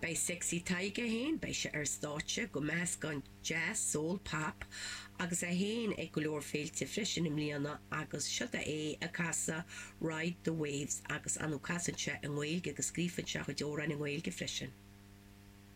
Beidh Sexy Tadhg é féin, beidh sé ar stáitse go meascán jazz, soul, pop agus é féin ag go leor féilte freisin i mbliana agus seod é ag casadh Ride the Waves agus ar ndóigh casann sé i nGaeilge agus scríobhann sé a chuid amhráin i nGaeilge freisin.